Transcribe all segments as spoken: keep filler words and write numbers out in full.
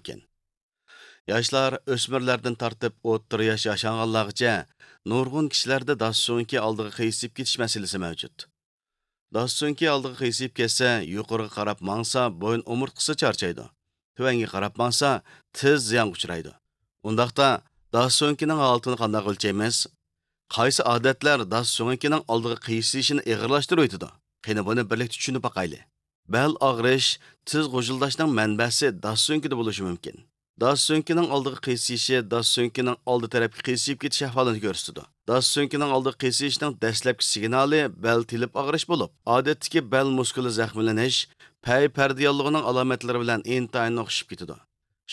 مۇمكىن. ياشلار، ئۆسمۈرلەردىن تارتىپ ئوتتۇرا ياش ياشانغانلارغىچە نۇرغۇن كىشىلەردە داس سۆڭىكى ئالدىغا قىيسىيىپ كېتىش مەسىلىسى مەۋجۇت. داس سۆڭىكى ئالدىغا قىيسىيىپ كەتسە، يۇقىرىغا قاراپ ماڭسا، بويۇن ئومۇرتقىسى چارچايدۇ. تۆۋەنگە قاراپ ماڭسا، تىز زىيانغا ئۇچرايدۇ. ئۇنداقتا، داس سۆڭىكىنىڭ ھالىتىنى قانداق ئۆلچەيمىز؟ قايسى ئادەتلەر داس سۆڭىكىنىڭ ئالدىغا قىيسىيىشىنى ئېغىرلاشتۇرۇۋېتىدۇ؟ قېنى، بۇنى بىرلىكتە چۈشىنىپ باقايلى. بەل ئاغرىش، تىز غۇژۇلداشنىڭ مەنبەسى داس سۆڭىكىدە بولۇشى مۇمكىن. داس سۆڭىكىنىڭ ئالدىغا قىيسىيىشى داس سۆڭىكىنىڭ ئالدى تەرەپكە قىيسىيىپ كېتىش ئەھۋالىنى كۆرسىتىدۇ. داس سۆڭىكىنىڭ ئالدىغا قىيسىيىشنىڭ دەسلەپكى سىگنالى بەل تېلىپ ئاغرىش بولۇپ، ئادەتتىكى بەل مۇسكۇلى زەخىملىنىش، پەي پەردە ياللۇغىنىڭ ئالامەتلىرى بىلەن ئىنتايىن ئوخشىشىپ كېتىدۇ.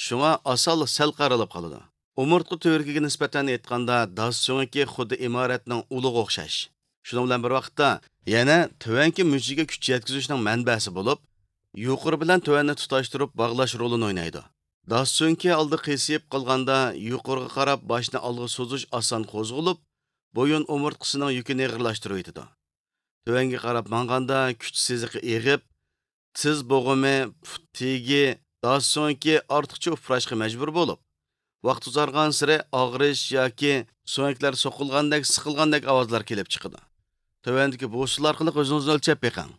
شۇڭا ئاسانلا سەل قارىلىپ قالىدۇ. ئومۇرتقا تۈۋرۈكىگە نىسبەتەن ئېيتقاندا، داس سۆڭىكى خۇددى ئىمارەتنىڭ ئۇلىغا ئوخشاش. شۇنىڭ بىلەن بىر ۋاقىتتا، يەنە تۆۋەنكى مۈججىگە كۈچ يەتكۈزۈشنىڭ مەنبەسى بولۇپ، يۇقىرى بىلەن تۆۋەننى تۇتاشتۇرۇپ باغلاش رولىنى ئوينايدۇ. داس سۆڭىكى ئالدى قىيسىيىپ قالغاندا، يۇقىرىغا قاراپ باشنى ئالغا سوزۇش ئاسان قوزغىلىپ، بويۇن ئومۇرتقىسىنىڭ يۈكىنى ئېغىرلاشتۇرۇۋېتىدۇ. تۆۋەنگە قاراپ ماڭغاندا، كۈچ سىزىقى ئېغىپ، تىز بوغۇمى، پۇت تېگى، داس سۆڭىكى ئارتۇقچە ئۇپراشقا مەجبۇر بولۇپ، ۋاقىت ئۇزارغانسېرى ئاغرىش ياكى سۆڭەكلەر سوقۇلغاندەك، سىقىلغاندەك ئاۋازلار كېلىپ چىقىدۇ. تۆۋەندىكى بۇ ئۇسۇللار ئارقىلىق ئۆزىڭىزنى ئۆلچەپ بېقىڭ.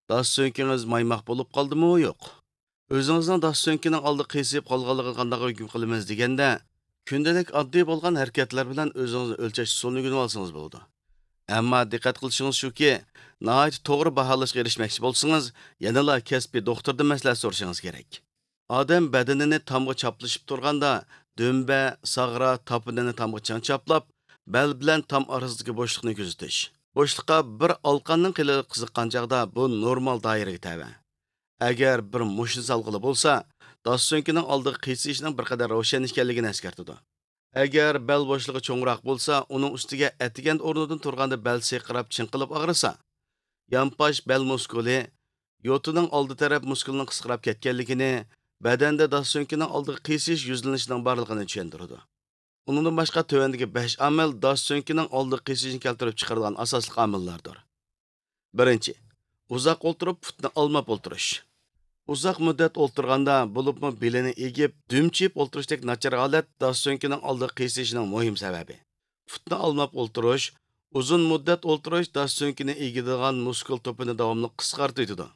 داس سۆڭىكىڭىز مايماق بولۇپ قالدىمۇ، يوق؟ ئۆزىڭىزنىڭ داس سۆڭىكىنىڭ ئالدى قىيسىيىپ قالغانلىقىنى قانداق ھۆكۈم قىلىمىز دېگەندە، كۈندىلىك ئاددىي بولغان ھەرىكەتلەر بىلەن ئۆزىڭىزنى ئۆلچەش ئۇسۇلىنى ئۆگىنىۋالسىڭىز بولىدۇ. ئەمما دىققەت قىلىشىڭىز شۇكى، ناھايىتى توغرا باھالاشقا ئېرىشمەكچى بولسىڭىز، يەنىلا كەسپىي دوختۇردىن مەسلىھەت سورىشىڭىز كېرەك. ئادەم بەدىنىنى تامغا چاپلىشىپ تۇرغاندا، دۈمبە، ساغرا، تاپىنىنى تامغا چىڭ چاپلاپ، بەل بىلەن تام ئارىسىدىكى بوشلۇقنى كۆزىتىش. بوشلۇققا بىر ئالقاننىڭ قېلىنلىقى سىغقان چاغدا بۇ نورمال دائىرىگە تەۋە. ئەگەر بىر مۇشتنى سالغىلى بولسا، داس سۆڭىكىنىڭ ئالدىغا قىيسىيىشنىڭ بىر قەدەر روشەن ئىكەنلىكىنى ئەسكەرتىدۇ. ئەگەر بەل بوشلۇقى چوڭراق بولسا، ئۇنىڭ ئۈستىگە ئەتىگەندە ئورنىدىن تۇرغاندا بەل سىرقىراپ چىڭقىلىپ ئاغرىسا، يانپاش بەل مۇسكۇلى، يوتىنىڭ ئالدى تەرەپ مۇسكۇلىنىڭ قىسقىراپ كەتكەنلىكىنى، بەدەندە داس سۆڭىكىنىڭ ئالدىغا قىيسىيىش يۈزلىنىشىنىڭ بارلىقىنى چۈشەندۈرىدۇ. ئۇنىڭدىن باشقا تۆۋەندىكى بەش ئامىل داس سۆڭىكىنىڭ ئالدىغا قىيسىشىنى كەلتۈرۈپ چىقىرىدىغان ئاساسلىق ئامىللاردۇر. بىرىنچى، ئۇزاق ئولتۇرۇپ پۇتنى ئالماپ ئولتۇرۇش. ئۇزاق مۇددەت ئولتۇرغاندا، بولۇپمۇ بېلىنى ئېگىپ، دۈمچىيىپ ئولتۇرۇشتەك ناچار ھالەت داس سۆڭىكىنىڭ ئالدىغا قىيسىشىنىڭ مۇھىم سەۋەبى. پۇتنى ئالماپ ئولتۇرۇش، ئۇزۇن مۇددەت ئولتۇرۇش داس سۆڭىكىنى ئېگىدىغان مۇسكۇل توپىنى داۋاملىق قىسقارتىۋېتىدۇ.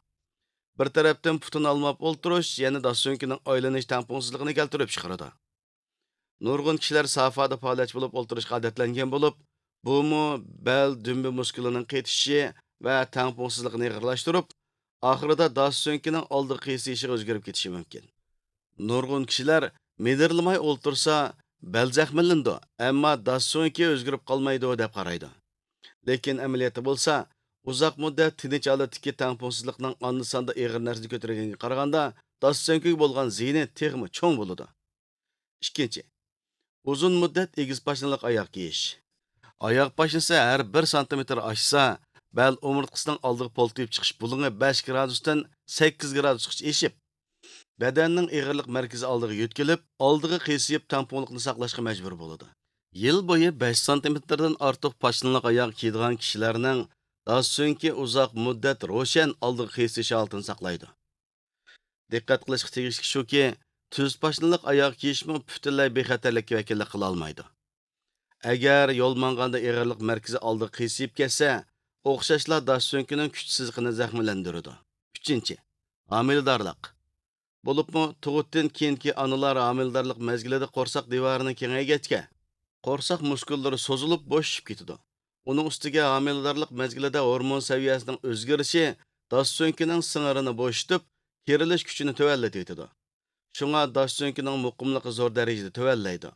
بىر تەرەپتىن پۇتىنى ئالماپ ئولتۇرۇش يەنە داس سۆڭىكىنىڭ ئايلىنىش تەڭپۇڭسىزلىقىنى كەلتۈرۈپ چىقىرىدۇ. نۇرغۇن كىشىلەر سافادا پائالىيەتچى بولۇپ ئولتۇرۇشقا ئادەتلەنگەن بولۇپ، بۇمۇ بەل دۈمبە مۇسكۇلىنىڭ قېتىشىشى ۋە تەڭپۇڭسىزلىقىنى ئېغىرلاشتۇرۇپ، ئاخىرىدا داس سۆڭىكىنىڭ ئالدىغا قىيسىيىشىغا ئۆزگىرىپ كېتىشى مۇمكىن. نۇرغۇن كىشىلەر مىدىرلىماي ئولتۇرسا، بەل زەخىملىنىدۇ، ئەمما داس سۆڭىكى ئۆزگىرىپ قالمايدۇ، دەپ قارايدۇ. لېكىن ئەمەلىيەتتە بولسا، ئۇزاق مۇددەت تىنچ ھالەتتىكى تەڭپۇڭسىزلىقنىڭ ئاندا-ساندا ئېغىر نەرسىنى كۆتۈرگەنگە قارىغاندا، داس سۆڭىكىگە بولغان زىيىنى تېخىمۇ چوڭ بولىدۇ. ئىككىنچى، ئۇزۇن مۇددەت ئېگىز پاشنىلىق ئاياغ كىيىش. ئاياغ پاشنىسى ھەر بىر سانتىمېتىر ئاشسا، بەل ئومۇرتقىسىنىڭ ئالدىغا پولتىيىپ چىقىش بۇلۇڭى بەش گرادۇستىن سەككىز گرادۇسقىچە ئېشىپ، بەدەننىڭ ئېغىرلىق مەركىزى ئالدىغا يۆتكىلىپ، ئالدىغا قىيسىيىپ تەڭپۇڭلۇقنى ساقلاشقا مەجبۇر بولىدۇ. يىل بويى بەش سانتىمېتىردىن ئارتۇق پاشنىلىق ئاياغ كىيىدىغان كىشىلەرنىڭ داس سۆڭىكى ئۇزاق مۇددەت روشەن ئالدىغا قىيسىيىش ھالىتىنى ساقلايدۇ. دىققەت قىلىشقا تېگىشلىك شۇكى، تۈز پاشنىلىق ئاياغ كىيىشمۇ پۈتۈنلەي بىخەتەرلىككە ۋەكىللىك قىلالمايدۇ. ئەگەر يول ماڭغاندا ئېغىرلىق مەركىزى ئالدىغا قىيسىيىپ كەتسە، ئوخشاشلا داس سۆڭىكىنىڭ كۈچ سىزىقىنى زەخىملەندۈرىدۇ. ئۈچىنچى، ھامىلىدارلىق. بولۇپمۇ تۇغۇتتىن كېيىنكى ئانىلار ھامىلىدارلىق مەزگىلىدە قورساق دىۋارىنى كېڭەيگەچكە، قورساق مۇسكۇللىرى سوزۇلۇپ بوشىشىپ كېتىدۇ. ئۇنىڭ ئۈستىگە ھامىلىدارلىق مەزگىلىدە ھورمون سەۋىيەسىنىڭ ئۆزگىرىشى داس سۆڭىكىنىڭ سىڭىرىنى بوشىتىپ، كېرىلىش كۈچىنى تۆۋەنلىتىۋېتىدۇ. شۇڭا داس سۆڭىكىنىڭ مۇقىملىقى زور دەرىجىدە تۆۋەنلەيدۇ.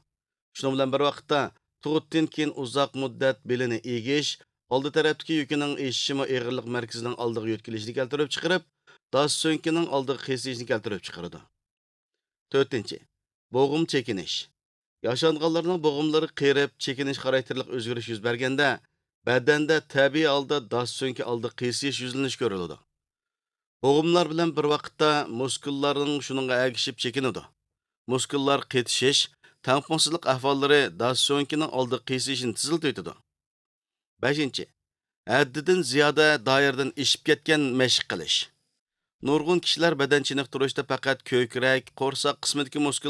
شۇنىڭ بىلەن بىر ۋاقىتتا، تۇغۇتتىن كېيىن ئۇزاق مۇددەت بېلىنى ئېگىش، ئالدى تەرەپتىكى يۈكىنىڭ ئېشىشىمۇ ئېغىرلىق مەركىزىنىڭ ئالدىغا يۆتكىلىشىنى كەلتۈرۈپ چىقىرىپ، داس سۆڭىكىنىڭ ئالدىغا قىيسىيىشنى كەلتۈرۈپ چىقىرىدۇ. تۆتىنچى، بوغۇم چېكىنىش. ياشانغانلارنىڭ بوغۇملىرى قېرىپ، چېكىنىش خاراكتېرلىك ئۆزگىرىش يۈز بەرگەندە، بەدەندە تەبىئىي ھالدا داس سۆڭىكى ئالدى قىيسىيىش يۈزلىنىشى كۆرۈلىدۇ. بوغۇملار بىلەن بىر ۋاقىتتا مۇسكۇللارنىڭ شۇنىڭغا ئەگىشىپ چېكىنىدۇ. مۇسكۇللار قېتىشىش، تەڭپۇڭسىزلىق ئەھۋاللىرى داس سۆڭىكىنىڭ ئالدى قىيسىيىشىنى تېزلىتىۋېتىدۇ. بەشىنچى، ھەددىدىن زىيادە دائىرىدىن ئېشىپ كەتكەن مەشىق قىلىش. نۇرغۇن كىشىلەر بەدەن چېنىقتۇرۇشتا پەقەت كۆكرەك، قورساق قىسمىدىكى مۇسكۇل